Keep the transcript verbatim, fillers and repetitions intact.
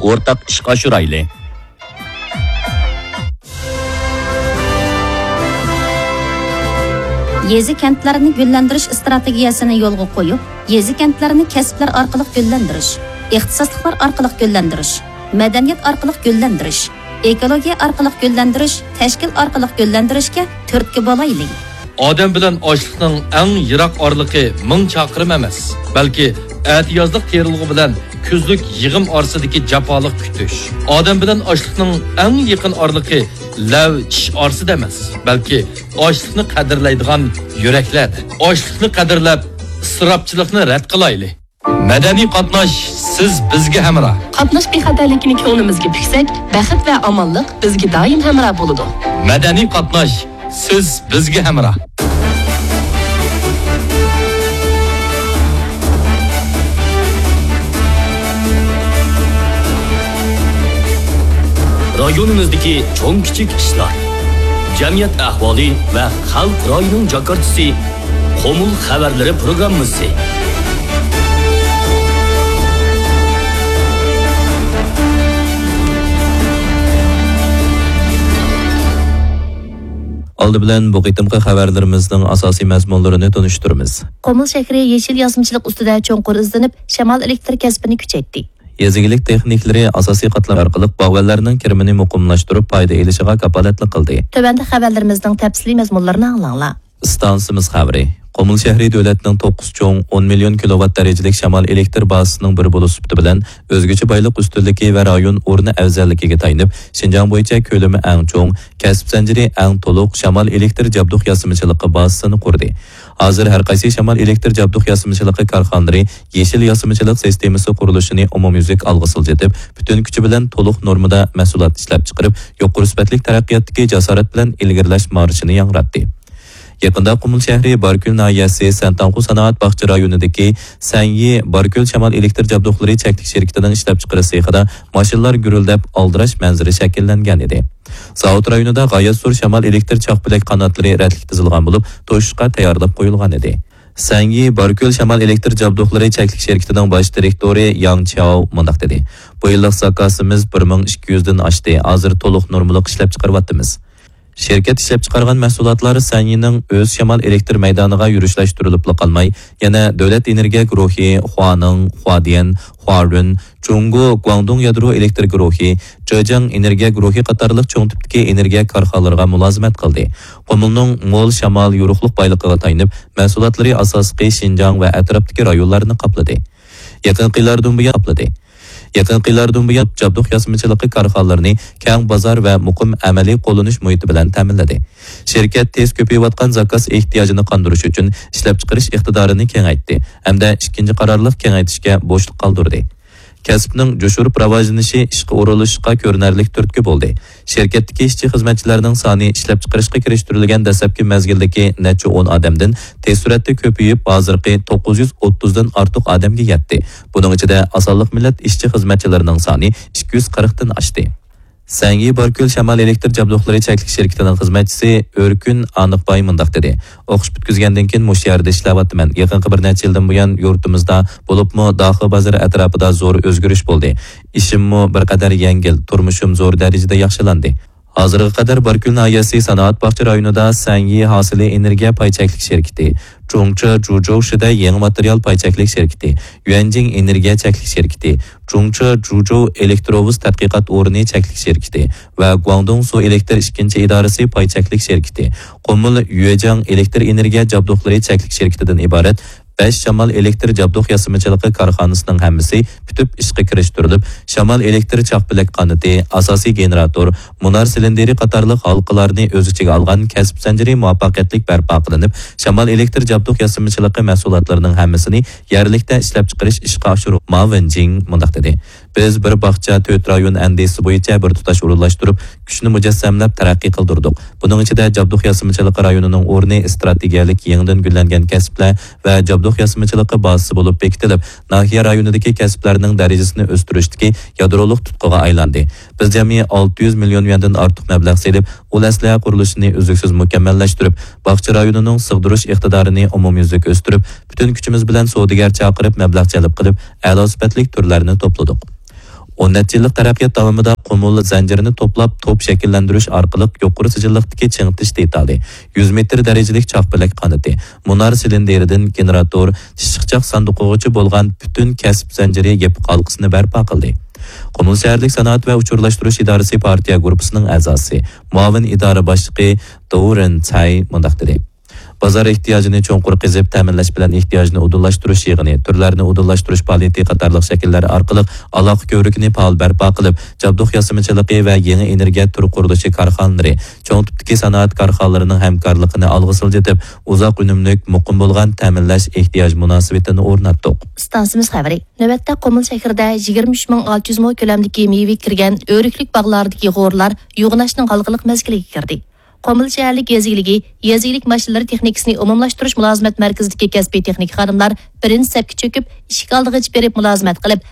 ئورتاق ئىشقا ئاشۇرايلى. يېزا كەنتلەرنى گۈللەندۈرۈش ئىستراتېگىيەسىنى يولغا قويۇپ، يېزا كەنتلەرنى كەسىپلەر ئارقىلىق گۈللەندۈرۈش، ئىختىساسلىقلار ئارقىلىق گۈللەندۈرۈش، مەدەنىيەت ئارقىلىق گۈللەندۈرۈش، ئېكولوگىيە ئارقىلىق گۈللەندۈرۈش، تەشكىل ئارقىلىق گۈللەندۈرۈشكە تۈرتكە بولايلى. ئادەم بىلەن ئاشلىقنىڭ ئەڭ يىراق ئارىلىقى مىڭ چاقىرىم ئەمەس، بەلكى ئەتىيازلىق تېرىلغۇ بىلەن كۈزلۈك يىغىم ئارىسىدىكى جاپالىق كۈتۈش. ئادەم بىلەن ئاشلىقنىڭ ئەڭ يېقىن ئارىلىقى لەۋ چىش ئارىسىدا ئەمەس، بەلكى ئاشلىقنى قەدىرلەيدىغان يۈرەكلەردە. ئاشلىقنى قەدىرلەپ، ئىسراپچىلىقنى رەت قىلايلى. مەدەنىي قاتناش، سىز بىزگە ھەمراھ. قاتناش بىخەتەرلىكىنى كۆڭلىمىزگە پۈكسەك، بەخت ۋە ئامانلىق بىزگە دائىم ھەمراھ بولىدۇ. مەدەنىي قاتناش، سىز بىزگە ھەمراھ. رايونىمىزدىكى چوڭ-كىچىك ئىشلار، جەمئىيەت ئەھۋالى ۋە خەلق رايىنىڭ جاكارتىسى، قۇمۇل خەۋەرلىرى پروگراممىسى. ئالدى بىلەن بۇ قېتىمقى خەۋەرلىرىمىزنىڭ ئاساسىي مەزمۇنلىرىنى تونۇشتۇرىمىز. قۇمۇل شەھىرى يېشىل ياسىمىچىلىق ئۈستىدە چوڭقۇر ئىزدىنىپ، شامال ئېلېكتر كەسپىنى كۈچەيتتى. يېزا ئىگىلىك تېخنىكلىرى ئاساسىي قاتلام ئارقىلىق باغۋەنلەرنىڭ كىرىمىنى مۇقىملاشتۇرۇپ، پايدا ئېلىشىغا كاپالەتلىك قىلدى. تۆۋەندە خەۋەرلىرىمىزنىڭ تەپسىلىي مەزمۇنلىرىنى ئاڭلاڭلار. ئىستانسىمىز خەۋىرى. قۇمۇل شەھىرى دۆلەتنىڭ توققۇز چوڭ ئون مىليون كىلوۋات دەرىجىلىك شامال ئېلېكتر بازىسىنىڭ بىرى بولۇش سۈپىتى بىلەن، ئۆزگىچە بايلىق ئۈستۈنلۈكى ۋە رايون ئورنى ئەۋزەللىكىگە تايىنىپ، شىنجاڭ بويىچە كۆلىمى ئەڭ چوڭ، كەسىپ زەنجىرى ئەڭ تولۇق شامال ئېلېكتر جابدۇق ياسىمىچىلىقى بازىسىنى قۇردى. ھازىر ھەر قايسى شامال ئېلېكتر جابدۇق ياسىمىچىلىقى كارخانىلىرى يېشىل ياسىمىچىلىق سىستېمىسى قۇرۇلۇشىنى ئومۇميۈزلۈك ئالغا سىلجىتىپ، پۈتۈن كۈچى بىلەن تولۇق نورمىدا مەھسۇلات ئىشلەپچىقىرىپ، يۇقىرى سۈپەتلىك تەرەققىياتتىكى جاسارەت بىلەن ئىلگىرىلەش مارشىنى ياڭراتتى. يېقىندا قۇمۇل شەھىرى باركۆل ناھىيەسى سەنتاڭخۇ سانائەت باغچە رايونىدىكى سەنيى باركۆل شامال ئېلېكتر جابدۇقلىرى چەكلىك شىركىتىنىڭ ئىشلەپچىقىرىش سېخىدا ماشىنىلار گۈرۈلدەپ ئالدىراش مەنزىرە شەكىللەنگەن ئىدى. زاۋۇت رايونىدا غايەتسۇر شامال ئېلېكتر چاقپەلەك قاناتلىرى رەتلىك تىزىلغان بولۇپ، توشۇشقا تەييارلىق قويۇلغان ئىدى. سەنيى باركۆل شامال ئېلېكتر جابدۇقلىرى چەكلىك شىركىتىنىڭ باش دىرېكتورى ياڭ چياۋ مۇنداق دېدى: بۇ يىللىق زاكازىمىز بىر مىڭ ئىككى يۈزدىن ئاشتى، ھازىر تولۇق نورمىلىق ئىشلەپچىقىرىۋاتىمىز. شىركەت ئىشلەپچىقارغان مەھسۇلاتلار سەنيىنىڭ ئۆز شامال ئېلېكتر مەيدانىغا يۈرۈشلەشتۈرۈلۈپلا قالماي، يەنە دۆلەت ئېنېرگىيە گۇرۇھى، خۇانىڭ، خۇادىيەن، خۇارۈن، جۇڭگو گۇاڭدۇڭ يادرو ئېلېكتر گۇرۇھى، جېجياڭ ئېنېرگىيە گۇرۇھى قاتارلىق چوڭ تىپتىكى ئېنېرگىيە كارخانىلىرىغا مۇلازىمەت قىلدى. قۇمۇلنىڭ مول شامال، يورۇقلۇق بايلىقىغا تايىنىپ، مەھسۇلاتلىرى ئاساسلىقى شىنجاڭ ۋە ئەتراپتىكى رايونلارنى قاپلىدى. يېقىنقى يىللاردىن بۇيان قاپلىدى. يېقىنقى يىللاردىن بۇيان جابدۇق ياسىمىچىلىقى كارخانىلىرىنى كەڭ بازار ۋە مۇقىم ئەمەلىي قوللىنىش مۇھىتى بىلەن تەمىنلىدى. شىركەت تېز كۆپىيىۋاتقان زاكاز ئېھتىياجىنى قاندۇرۇش ئۈچۈن ئىشلەپچىقىرىش ئىقتىدارىنى كېڭەيتتى ھەمدە ئىككىنچى قارارلىق كېڭەيتىشكە بوشلۇق قالدۇردى. كەسىپنىڭ جۇشۇرۇپ راۋاجلىنىشى ئىشقا ئورۇنلىشىشقا كۆرۈنەرلىك تۈرتكە بولدى. شىركەتتىكى ئىشچى-خىزمەتچىلەرنىڭ سانى ئىشلەپچىقىرىشقا كىرىشتۈرۈلگەن دەسلەپكى مەزگىلدىكى نەچچە ئون ئادەمدىن تېز سۈرئەتتە كۆپىيىپ، ھازىرقى توققۇز يۈز ئوتتۇزدىن ئارتۇق ئادەمگە يەتتى. بۇنىڭ ئىچىدە ئاسانلىق مىللەت ئىشچى-خىزمەتچىلىرىنىڭ سانى ئىككى يۈز قىرىقتىن ئاشتى. سەنگى باركۆل شامال ئېلېكتر جابدۇقلىرى چەكلىك شىركىتىنىڭ خىزمەتچىسى ئۆركۈن ئانىقباي مۇنداق دېدى: ئوقۇش پۈتكۈزگەندىن كېيىن مۇشۇ يەردە ئىشلەۋاتىمەن. يېقىنقى بىر نەچچە يىلدىن بۇيان يۇرتىمىزدا، بولۇپمۇ داخا بازىرى ئەتراپىدا زور ئۆزگىرىش بولدى. ئىشىممۇ بىر قەدەر يەڭگىل، تۇرمۇشۇم زور دەرىجىدە ياخشىلاندى. ھازىرغا قەدەر باركۆل ناھىيەسى سانائەت باغچە رايونىدا سەنگى ھاسىلى ئېنېرگىيە پاي چەكلىك شىركىتى، جۇڭچې جۇجۇشىدە يېڭى ماتېرىيال پاي چەكلىك شىركىتى، يۈەنجىڭ ئېنېرگىيە چەكلىك شىركىتى، جۇڭچې جۇجۇ ئېلېكتروۋوز تەتقىقات ئورنى چەكلىك شىركىتى ۋە گۇاڭدۇڭ سۇ ئېلېكتر ئىككىنچى ئىدارىسى پاي چەكلىك شىركىتى، قۇمۇل يۈەجياڭ ئېلېكتر ئېنېرگىيە جابدۇقلىرى چەكلىك شىركىتىدىن ئىبارەت بەش شامال ئېلېكتر جابدۇق ياسىمىچىلىقى كارخانىسىنىڭ ھەممىسى پۈتۈپ ئىشقا كىرىشتۈرۈلۈپ، شامال ئېلېكتر چاقپەلەك قانىتى، ئاساسىي گېنېراتور، مۇنار سىلىندىرى قاتارلىق ھالقىلارنى ئۆز ئىچىگە ئالغان كەسىپ زەنجىرى مۇۋەپپەقىيەتلىك بەرپا قىلىنىپ، شامال ئېلېكتر جابدۇق ياسىمىچىلىقى مەھسۇلاتلىرىنىڭ ھەممىسىنى يەرلىكتە ئىشلەپچىقىرىش ئىشقا ئاشۇرۇپ، ما ۋېنجىڭ مۇنداق دېدى: بىز بىر باغچە، تۆت رايون ئەندىزىسى بويىچە بىر تۇتاش ئورۇنلاشتۇرۇپ، كۈچنى مۇجەسسەملەپ تەرەققىي قىلدۇردۇق. بۇنىڭ ئىچىدە جابدۇق ياسىمىچىلىقى رايونىنىڭ ئورنى ئىستراتېگىيەلىك يېڭىدىن گۈللەنگەن كەسىپلەر ۋە جابدۇق ياسىمىچىلىقى بازىسى بولۇپ بېكىتىلىپ، ناھىيە رايونىدىكى كەسىپلەرنىڭ دەرىجىسىنى ئۆستۈرۈشتىكى يادرولۇق تۇتقىغا ئايلاندى. بىز جەمئىي ئالتە يۈز مىليون يۈەندىن ئارتۇق مەبلەغ سېلىپ، ئۇل ئەسلىھە قۇرۇلۇشىنى ئۈزلۈكسىز مۇكەممەللەشتۈرۈپ، باغچە رايونىنىڭ سىغدۇرۇش ئىقتىدارىنى ئومۇميۈزلۈك ئۆستۈرۈپ، پۈتۈن كۈچىمىز بىلەن سودىگەر چاقىرىپ، مەبلەغ جەلپ قىلىپ، ئەلا سۈپەتلىك تۈرلەرنى توپلىدۇق. ئون نەچچە يىللىق تەرەققىيات داۋامىدا قۇمۇل زەنجىرىنى توپلاپ، توپ شەكىللەندۈرۈش ئارقىلىق يۇقىرى سىجىللىقتىكى چىڭىتىش دېتالى، يۈز مېتىر دەرىجىلىك چاقپەلەك قانىتى، مۇنار سىلىندىرىدىن گېنېراتور، ئىششىقچاق ساندۇقىغىچە بولغان پۈتۈن كەسىپ زەنجىرى يېپىق ھالقىسىنى بەرپا قىلدى. قۇمۇل شەھەرلىك سانائەت ۋە ئۇچۇرلاشتۇرۇش ئىدارىسى پارتىيە گۇرۇپپىسىنىڭ ئەزاسى، مۇئاۋىن ئىدارە باشلىقى دو رېن چاي مۇنداق دېدى: بازار ئېھتىياجىنى چوڭقۇر قېزىپ، تەمىنلەش بىلەن ئېھتىياجنى ئۇدۇللاشتۇرۇش يىغىنى، تۈرلەرنى ئۇدۇللاشتۇرۇش پائالىيىتى قاتارلىق شەكىللەر ئارقىلىق ئالاقە كۆۋرۈكىنى پائال بەرپا قىلىپ، جابدۇق ياسىمىچىلىقى ۋە يېڭى ئېنېرگىيە تۈر قۇرۇلۇشى كارخانىلىرى، چوڭ تىپتىكى سانائەت كارخانىلىرىنىڭ ھەمكارلىقىنى ئالغا سىلجىتىپ، ئۇزاق ئۈنۈملۈك، مۇقىم بولغان تەمىنلەش ئېھتىياج مۇناسىۋىتىنى ئورناتتۇق. ئىستانسىمىز خەۋىرى. نۆۋەتتە قۇمۇل شەھىرىدە يىگىرمە ئۈچ مىڭ ئالتە يۈز مو كۆلەمدىكى مېۋە كىرگەن ئۆرۈكلۈك باغلاردىكى غورلار يوغىناشنىڭ ھالقىلىق مەزگىلىگە كىردى. قۇمۇل شەھەرلىك يېزا ئىگىلىكى، يېزا ئىگىلىك ماشىنىلىرى تېخنىكىسىنى ئومۇملاشتۇرۇش مۇلازىمەت مەركىزىدىكى كەسپىي تېخنىك خادىملار بىرىنچى سەپكە چۆكۈپ، ئىشىك ئالدىغىچە بېرىپ مۇلازىمەت قىلىپ،